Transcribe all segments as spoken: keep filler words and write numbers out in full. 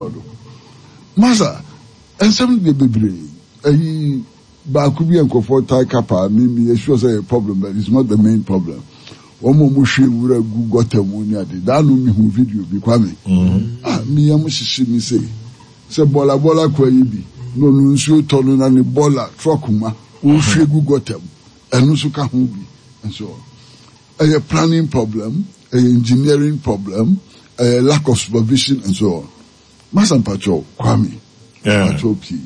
Do. Masa, nsɛm no deɛ bebree. Ayi baako bi a nkurɔfoɔ tae ka paa, me meyɛ sure sɛ ɛyɛ problem but it's not the main problem. Wɔn a wɔhwie nwura gu gutter mu ne ade. Daa no mehu video bi, Kwame. Ah, me yam hyehye me sei. Sɛ bɔɔla bɔɔla koa yi bi, na ɔno nsuo tɔ no na ne bɔɔla truck ma, ɔrehwie gu gutter mu. Ɛno nso ka ho bi. Nso ɛyɛ planning problem, ɛyɛ engineering problem, ɛyɛ lack of supervision and so on. Masa, mpakyɛw, Kwame, mpakyɛw pii.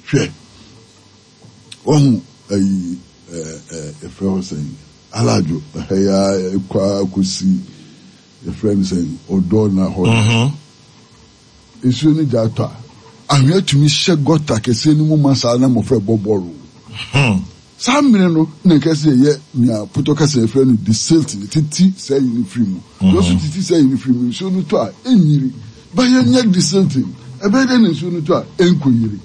Hwɛ, wahu ayi ɛɛ ɛɛ yɛfrɛ hɔ sɛn, Alaadwo ɛha yi ara ɛkɔ akɔsi yɛfrɛ no sɛn, Ɔdɔ na hɔ. Nsuo no gya atɔ a, ahwea tumi hyɛ gutter kɛseɛ no mu ma saa na mmɔfra bɔ bɔɔlo. Saa mmere no na nka sɛ yɛyɛ nea potɔ kasa yɛfrɛ no desilting, titi saa yi no firi mu. Sɛ ɔso titi saa yi no firi mu, nsuo no tɔ a ɛnyiri. Ba yɛnyɛ desilting, ɛbɛyɛ dɛ na nsuo no tɔ a ɛnkɔyiri?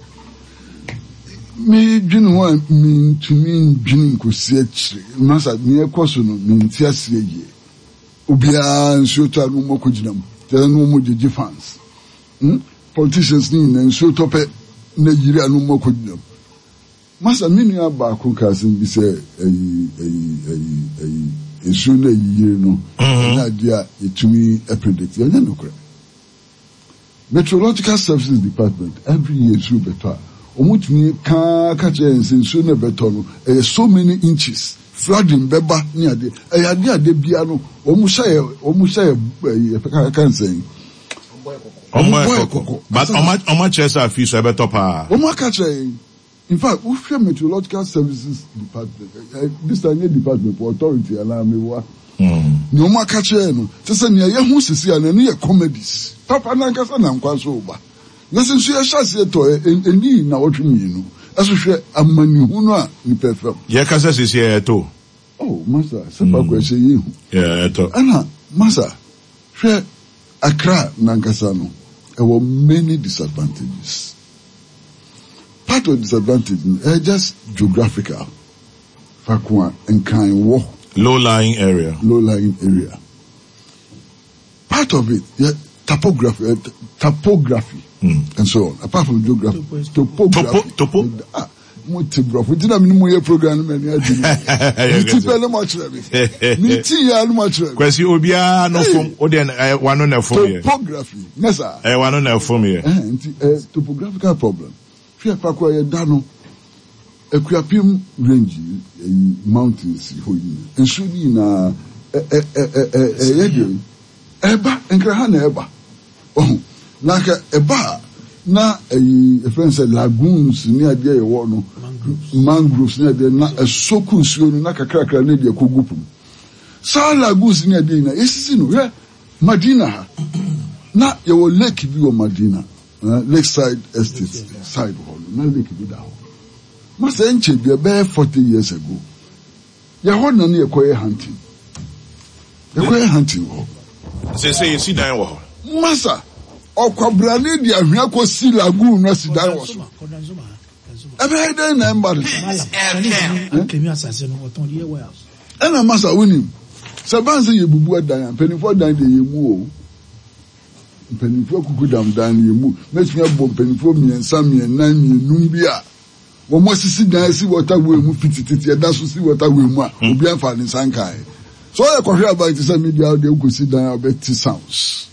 Medwene ho a, mentumi ndwene nkɔsi akyire. Masa, nea ɛkɔ so no, mente aseɛ yie. Obiara nsuo tɔ a na wɔn akɔgyina mu, kyerɛ sɛ na wɔn gyegye fans. Hmm? Politicians ne nyinaa, nsuo tɔ pɛ na yiri a na wɔn akɔgyina mu. Masa, me nua baako ka asɛm bi sɛ ɛyi ɛyi ɛyi ɛyi nsuo no ayiyiri no ɛnyɛ adeɛ a yɛtumi predict. Ɛnyɛ nokorɛ. Meteorological Services Department, every year nsuo bɛtɔ a, wɔn tumi kaa ka kyerɛ yɛn sɛ nsuo no ɛbɛtɔ no ɛyɛ so many inches, flooding bɛba ne adeɛ. Ɛyɛ adeɛ adeɛ bia no wɔn hyɛ yɛ wɔn hyɛ yɛ ɛyi ɛfɛ ka nsɛn. Ɔmo bɔ yɛ kɔkɔ. But ɔmo ɔmo akyerɛ sɛ afi so ɛbɛtɔ paa. Wɔn aka kyerɛ yɛn. In fact, wohwɛ Meteorological Services Department, eh, this time nyɛ department for authority anaa mewoa. Nea wɔn aka kyerɛ no, kyɛ sɛ nea yɛho sisi a, n'ani yɛ comedies. Papa nankasa na nkwa so ba. Na sɛ nso yɛhyɛ aseɛ tɔ ɛ, ɛni na wɔtwe mmienu. Ɛso hwɛ amanihu no a nipa fam. Yɛkasa sisi ɛyɛ. Oh, masa, sɛ faako ɛhyɛ yɛ hu. Ɛtɔ. Ɛna masa, hwɛ Accra nankasa no, ɛwɔ many disadvantages. Part of disadvantage no, ɛyɛ just geographical. Faako a Nkran wɔ. Low lying area. Low lying area. Part of it, yeah, topography, uh, topography, mm. and so on. Apart from geography, topography. Topo, topo. Ah, mo te borɔfo nti na mene mo yɛ program no m'ani agye me ti pɛ ne mo akyerɛ me me ti yɛ ne mo akyerɛ me. Kwasi, obiara no fom o deɛ, ɛ wano na ɛfom yɛ. Topography ne saa. Ɛ wano na ɛfom yɛ. Ɛhɛn, nti ɛ topographical problem. Hwɛ faako a yɛda no, Akuapem range ɛyi mountains hɔ yi, nsuo no nyinaa ɛ ɛ ɛ ɛ ɛyɛ deɛ ɛba Nkraha na ɛba ɔho. Na nka ɛba a, na ɛyi ɛfɛn sɛ lagoons ne adeɛ yɛwɔ no, mangroves ne adeɛ na ɛsɔku nsuo no na kakrakra ne deɛ kɔ gu pum. Saa lagoons ne adeɛ nyinaa yɛsisi no. Hwɛ Madina ha, na yɛwɔ lake bi wɔ Madina, eh, Lakeside Estate side hɔ no, na lake bi da hɔ. Masa, nkyɛn bi ɛbɛyɛ forty years ago, yɛhɔ na ne yɛkɔyɛ hunting, yɛkɔyɛ hunting wɔ hɔ. Sɛ sɛ yɛsi dan wɔ hɔ. Masa, ɔkwabrane de ahwea kɔsi lagoon no asi dan wɔ so. Ɛbɛyɛ dɛn na ɛmba no? Ɛna masa, wonim sɛ ban sɛ yɛbubu adan a, mpanimfoɔ dan deɛ yɛmu o, mpanimfoɔ akuku dam dan no yɛmu. Mɛtumi abɔ mpanimfoɔ mmiɛnsa, mmiɛnnan, mmiɛnum bi a wɔn asisi dan asi waterway mu fitititi, ɛda so si waterway mu a obi amfa ne nsa nkae. So ɔyɛ kɔhwɛ aban te sɛ media deɛ, wokɔsi dan a wobɛte sounds.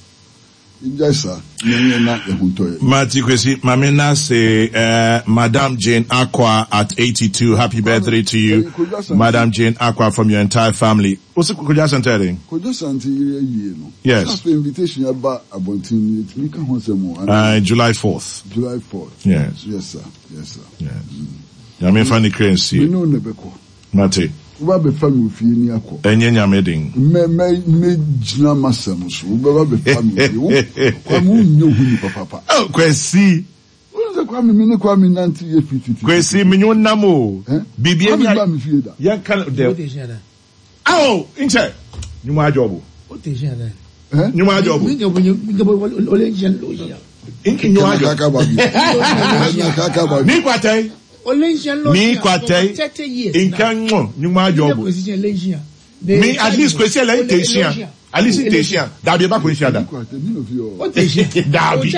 Ngyae saa na ɛnyɛ na yɛho ntɔ yɛ. Mati Kwesi, Mame Nase, uh, Madam Jane Akwa at eighty-two. Happy birthday to you, Madam Jane Akwa, from your entire family. What's it, Kojo Asante? Kojo Asante yere ayie no. Yes. Afei invitation aba abɔnten no, yɛtumi ka ho asɛm o? Uh, July fourth. July fourth. Yes. Yes sir, yes sir. Yes. Nyame fa ne kra nsie. Me ne wo na bɛkɔ. Mate. Woba bɛfa me ofie ni akɔ. Ɛnyɛ Nyame den. Mɛ mɛ mɛgyina m'asɛm so. Wobɛba bɛfa me ofie. Wo Kwame, wonyɛ ohu nipa papa. Oh, Kwesi. Wọ́n sɛ Kwame, mi ne Kwame nante yɛ fi titi. Kwesi, menye wo nam o. Eh? Biribi Kwame ani ba mi fie da. Yɛnka no dɛ. Awo, nkyɛ. Nyuma adwobo. Eh? Nyuma adwobo. Nyuma adwobo. Kaka ba bi. Ɛna kaka ba bi. Mi kwatɛn. Mi kwatɛn. Nka ŋmɔ nyuma adwobo. Mi at least Kwesi ɛlɛ nte nhyia. At least tehia. Dabi eba ko nhyia da. Dabi.